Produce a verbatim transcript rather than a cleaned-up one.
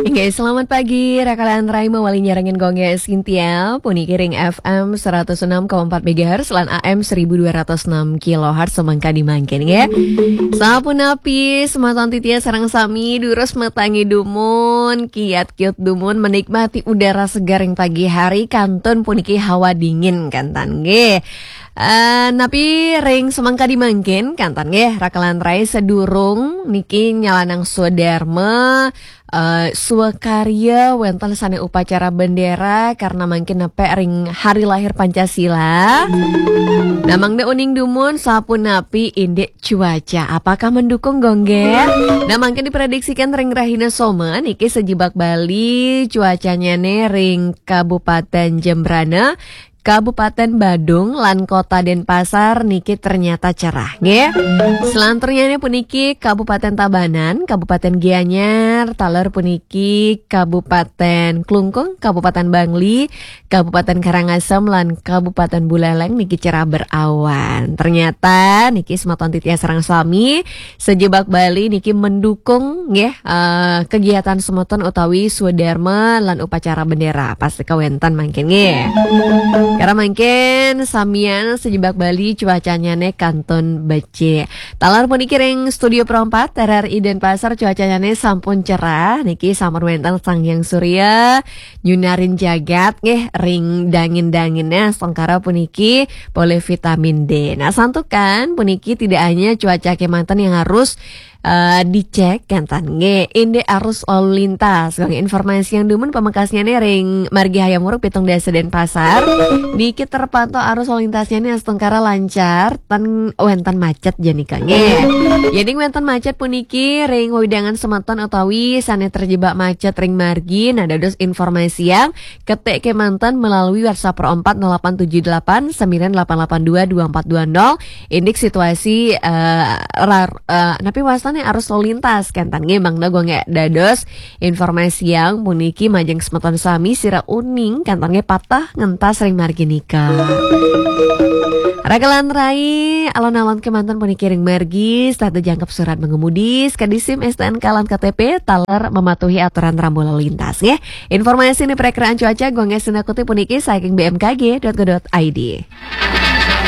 Inggih, selamat pagi, rakalan rai mawali nyarengin Gung Gé Sintia, puniki ring F M seratus enam koma empat megahertz lan A M seribu dua ratus enam kilohertz semangkadi mangkin, nggih. Sapunapi, semeton titiang sareng sami, durus matangi dumun, kiat-kiut dumun, menikmati udara segar ring pagi hari, kantun puniki hawa dingin, kantan, nggih. Eh, napi ring semangkadi mangkin, kantan, nggih, rakalan rai, sadurung niki nyalanang swadarma, eh, swakarya wénten sané upacara bendera karena mangkin nepek ring hari lahir Pancasila. Nah, mangda uning dumun sapunapi indik cuaca. Apakah mendukung, Gung Gé? Nah, mangkin diprediksikan ring rahina Soma niki sajebag Bali cuacannyané ring Kabupaten Jembrana, Kabupaten Badung lan Kota Denpasar niki ternyata cerah, nggih. Selanturnyané puniki Kabupaten Tabanan, Kabupaten Gianyar, taler puniki Kabupaten Klungkung, Kabupaten Bangli, Kabupaten Karangasem lan Kabupaten Buleleng niki cerah berawan. Ternyata niki semeton titiang sareng sami sajebag Bali niki mendukung, nggih, eh, kegiatan semeton utawi swadarma lan upacara bendera. Pasti kawénten mangkin, nggih. Karena mangkin samian sajebag Bali cuacannyané kantun becik. Taler puniki ring Studio Pro empat R R I Denpasar cuacannyané sampun cerah. Niki sampun wénten Sang Hyang Surya nyunarin jagat, nggih, ring dangin-danginnya astungkara puniki polih vitamin D. Nah, santukan puniki tidak hanya cuaca kémanten yang harus eh, dicek, kantan, nggih, indik arus lalu lintas. Gung Gé informasiang dumun, pamekasnyané ring margi Hayam Wuruk pitung dasa Denpasar. Niki terpantau arus lalu lintasnyané astungkara lancar, tan wénten macet, jani, nggih. Yéning wénten macet puniki ring wewidangan semeton utawi sané terjebak macet ring margi, nah, dados informasiang, ketik kémanten melalui WhatsApp Pro empat nol delapan tujuh delapan sembilan delapan delapan dua dua empat dua nol. Indik situasi, eh, rar-, eh, napi wastané arus lalu lintas, kantan, nggih, mangda Gung Gé dados informasiang puniki majeng semeton sami sira uning, kantan, nggih, pateh ngentas ring margi nika. Rakalan rai, alon-alon kémanten puniki ring margi, setata jangkep surat mengemudi, sekadi SIM, S T N K lan K T P, taler mematuhi aturan rambu lalu lintas, nggih. Informasi niki prekiraan cuaca Gung Gé sinakuti puniki saking B M K G dot go dot I D.